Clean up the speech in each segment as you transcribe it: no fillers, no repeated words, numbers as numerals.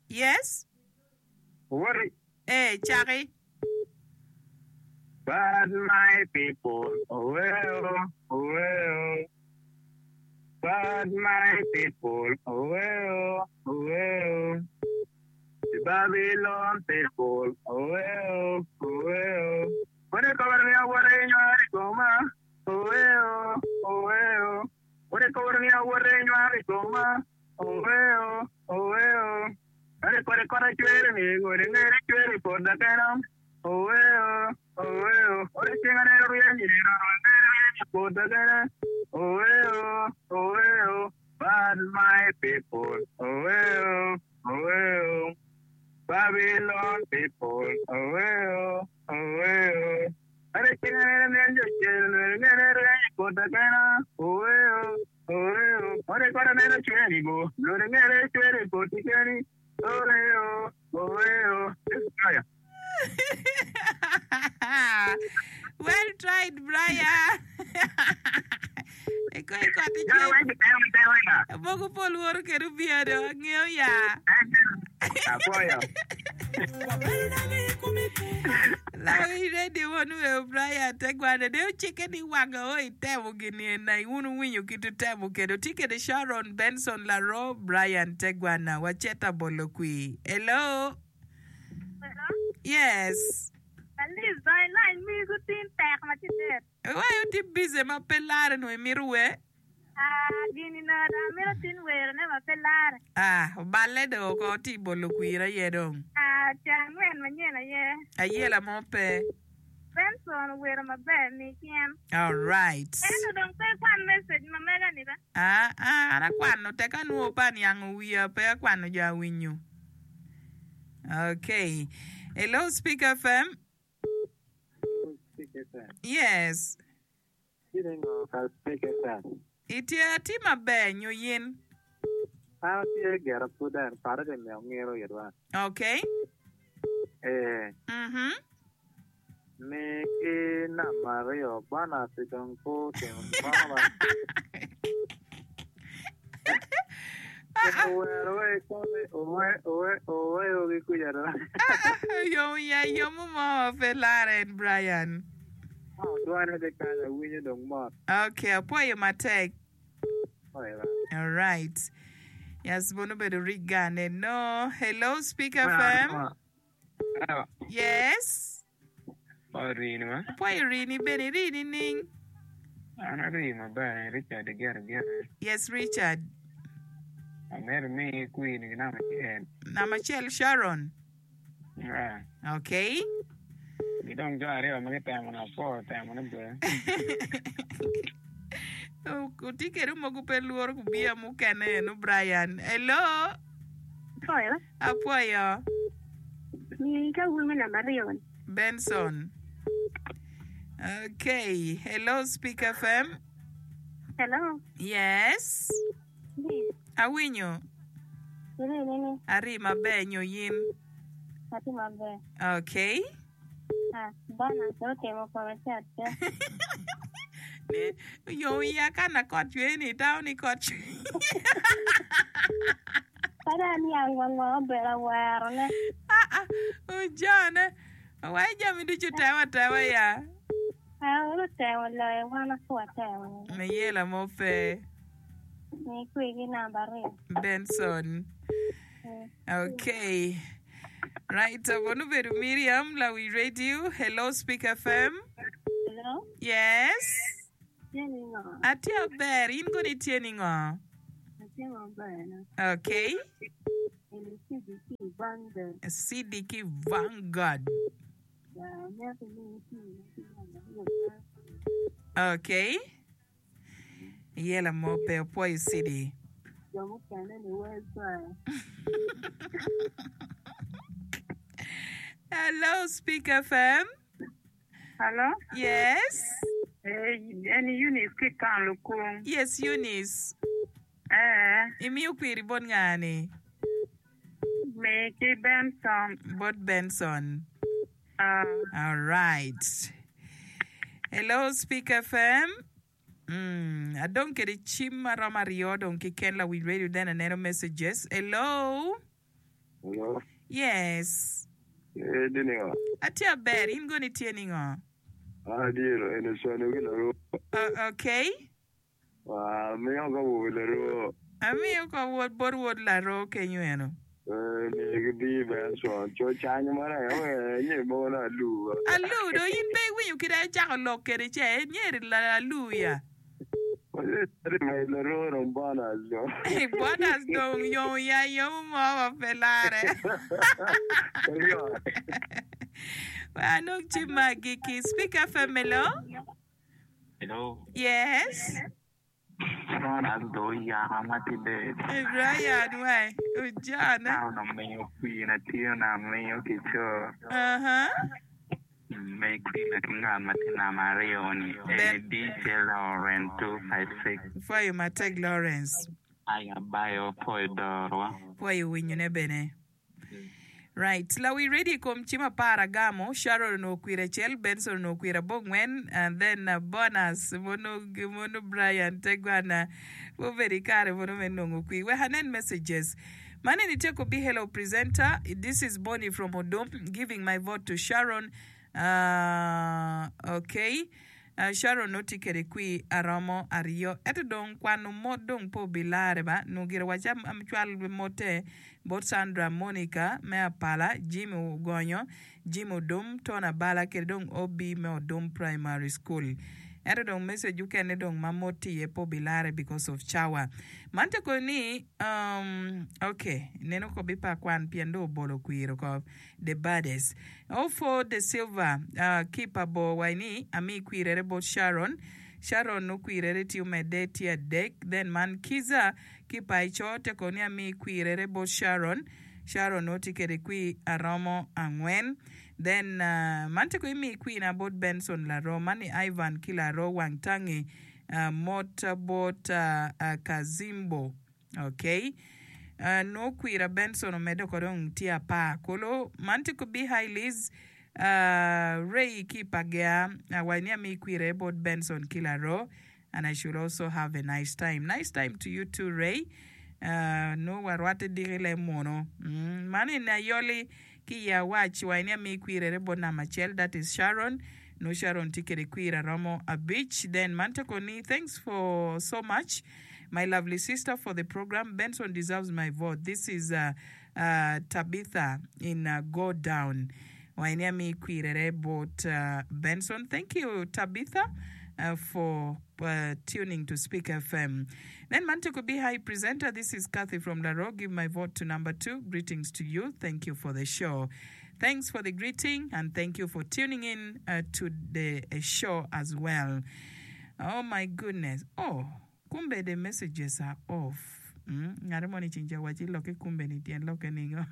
Yes. Owoti. Ee, caki. But my people, oweo, oweo. But my people, oweo, oweo. The Babylon people, oweo, oweo. Wode kobere ni awote inywaro i koma, oweo, oweo. Wode kobere ni awote inywaro i koma, oweo, oweo. Ore kode kota cwer ni gode ngere cwer i pota kena, oweo, oweo. Ore ceng aneno ryeny i roro ngere ryeny i pota kena, oweo, oweo. But my people, oweo, oweo. Babylon people, oweo, oweo. Ore ceng aneno ryeny jo cel ngere ryeny i pota kena, oweo. Well tried Brian. Eko i kot icen. Mogo pol woro kede obiya do angeyo ya. Lawi radio won weo Brian Tegwane de ocikke ni wanga o itemo gini ena wun wuwinyo kit wutemo kede wutye kede Sharon Benson Laro Brian Tegwana waceta bolo kwir hello Hello. Yes. Alice dong ilany migu tin tek ma ci det. Wai otye busy ma pe lare nongo imito wer. Ah, gini nongo dong amito tin werone ma pe lare. Ah, oballe do oko tye i bolo kwir aye dong. Ah, ca angwen manyen aye. Ayela mo pe. Benson owero maber mi cen. Alright. Ento dong pe ikwan message ma mega ni ba. Ah, ah, an akwano tek anwo pe aniango wiya pe akwano jo awinyo. Okay. Hello Speak FM. Yes. Itye atye maber nyo yin? An atye gira pud en pare tye miyo ngiro itwa. Okay. Ee. Mhm. Mi ki namba aryo bonus dong pe otimo gin mo ba. Owero wa ikome owe owe oweyo gi kuca do. Yom ya yomo mo pe lare en Brian. Dwane tye kany awinyo dong mot. Ok, apwoyo matek. Alright. Yes, bono obedo rigane. No. Hello, Speak FM. Yes. Orini ma. Apwoyo rini bene iri nining? An ari maber, Richard gire gire. Yes, Richard. Amito ni kwir ki namba acel. Namba acel Sharon. Yeah. Okay. Ki dong jo aryo ma gitemo ni apwo temo ni ber. Wutye kede mogo pe lworo gubiya mukene eno Brian. Hello. Apwoyo. Apwoyo. Mi ka wun me namba aryo ni. Benson. Okay. Hello Speak FM. Hello. Yes. Liz. Awinyo. Iri nini? Ari maber nyo yin? Atye maber. Okay. Ah, bana pe otimo kome cat pe. Ni yo iya ka na kot cwer ni itamo ni kot cwer. Pe dong aniang wa ngo obedo awero ne. Ah ah, ojone. Wai jami ducu temo atema ya. Ah, wun otemo loyo wan pe watemo. Mayela mo pe. Mi kwigi namba aryo. Benson. Okay. Right, wun obedo Miriam Lawi Radio. Hello Speak FM. Hello. Yes. Tye ni ngo? Atye aber, in kono itye ni ngo? Atye maber na. Okay. Eni CDK Vanguard. CDK Vanguard. Ya, amito ni iti ki namba aryo. Okay. Yela mo pe opwoyo city. Jo mukene ni wer cwaya. Hello, Speak FM. Hello? Yes. Eh, en Eunice ki kan lukung. Yes, Eunice. Eh. Imiyo kwiri bot nga-ni? Mi ki Benson. Bot Benson. Ah. All right. Hello, Speak FM. Mm, adong kede cim maromo aryo dong kiken lawiny radio then aneno messages. Hello. Hello. Yes. Itye ningo? Atye aber, in kono itye ningo? An atye eno cwalo ki laroo. Okay. Amiyo ka wot laroo. Amiyo ka wot bot wod laroo kenyo eno. Miyo ki bii Benson. Co canyo mana aye nye mogo na alu. Alu do in pe iwinyo kit acako lok kede ce nyeri alu ya. Laroo dong bonus do. Bonus dong yom ya yomo mo ma pe lare. Wek anong cim me agikki. Speak FM hello. Hello. Yes. Bonus do yaka ma tye dead. Brian wai ojana. Ka onongo miyo kwina tye onongo amiyo ki co. Uh-huh. Me kwina ki ngat ma tye namba aryoni eni DJ Lawrence 256. Pwoyo matek Lawrence. Aya bayo pwoyo dorwa. Pwoyo winyone bene. Right. Lawi radio i kom cim apar agamo, Sharon onongo kwir acel, Benson onongo kwir abongwen, and then uh, bonus mono, mono Brian Tegwana obedo i kare mono me nongo kwir. Wek anen messages. Man eni tye kobi hello presenter, this is Bonnie from Odum giving my vote to Sharon. Uh, okay. Uh, Sharon nongo tye kede kwir aromo aryo. Ento dong kwano mot dong pe obilare ba. Nongo gire waca cwal mote Bot Sandra, Monica me Apala, Jimmy Ogonyo, Jimmy Odum, Tony Abala kede dong OB me Odum Primary School. Ento dong message okene dong ma mot tye iye pe obilare because of cawa. Man te koyo ni um ok neno ko bi pa kwan pien dong obolo kwir oko. The Bades. Ofo De Silva uh, ki pa bor wai ni ami kwirere bot Sharon. Sharon okwirere tye omedde tye adek then man Kiza Ki paco te kono ni ami kwirere bot Sharon, Sharon nongo tye kede kwir aromo angwen. Then man te kono imi kwirna bot Benson Laro, man ni Ivan ki Laro wang tangi mot bot Kazimbo. Ok. Nongo kwira Benson omedde oko dong tye apar kulu. Man te kono bi Hi Liz, Ray ki pagea awaco ni ami kwirere bot Benson ki Laro. And I should also have a nice time. Nice time to you too Ray. Uh, no warwatte diki le munu. Mm, man en ayoli ki i awac wa ni ami kwirere bot namba acel that is Sharon. No Sharon tye kede kwir aromo abic. Then man te koni thanks for so much my lovely sister for the program. Benson deserves my vote. This is uh, uh, Tabitha in uh, Go Down. Wa ni ami kwirere bot uh, Benson. Thank you Tabitha uh, for uh, tuning to Speak FM. Then man to be hi presenter. This is Kathy from Laro. Give my vote to number two. Greetings to you. Thank you for the show. Thanks for the greeting and thank you for tuning in uh, to the uh, show as well. Oh my goodness. Oh. Kumbe the messages are off Ngat moni ceng ca wacci lokke kumbe ni tyen lokke ningo?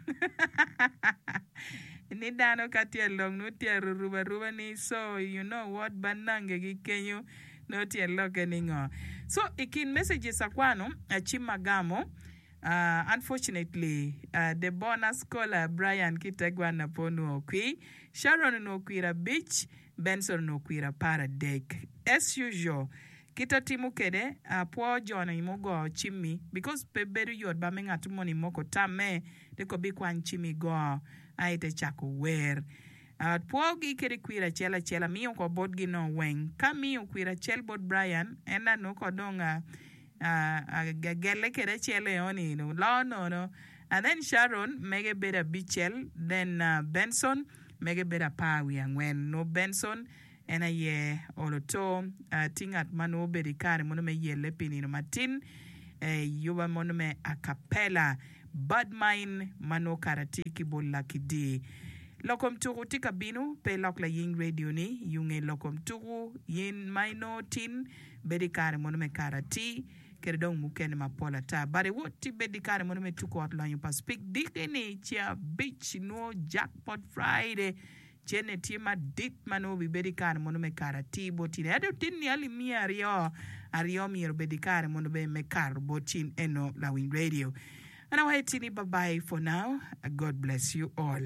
Ni dano ka tye along nongo tye arurubo aruba ni so you know what banange ki kenyo nongo tyen lokke ningo? So i kin messages akwano acim agamo unfortunately the bonus caller Brian ki Tegwanna pe onwongo kwir, Sharon onwongo kwir abic, Benson onwongo kwir aparadek as usual. Kit atimo kede apwo joni mugo cimmi because pe bedo yot ba me ngat moni moko tamme te kobi kwany cimmi go aye te cako wer. Apwo gi kede kwir acel acel amiyo ko bot gi no weng. Ka amiyo kwir acel bot Brian en nongo ko dong agelle kede acel eoni loo nono and then Sharon mege bedo abicel then Benson mege bedo apar wiye angwen nongo Benson En aye olo to tye ngat ma nongo obedo i kare mono me yelle pi nino matin i yuba mono me acapella Bad Mine ma nongo kara tye ki bot Lucky Dee. Lok kom tuku tye ka bino, pe ilok laying radio ni yunge lok kom tuku yin ma inongo tin bedo i kare mono me kara atir kede dong mukene mapol ata. But iwot ti bed i kare mono me tuku ot lonyo pa Spik diki ni ceng abic nongo Jackpot Friday Cente tye madit ma nongo obibedo i kare mono me kato atir bot cin. Ento tin-ni alip miya aryo aryo myero obed i kare mono bene me kato bot cin eno lawiny radio. An awaco tini bye bye for now. God bless you all.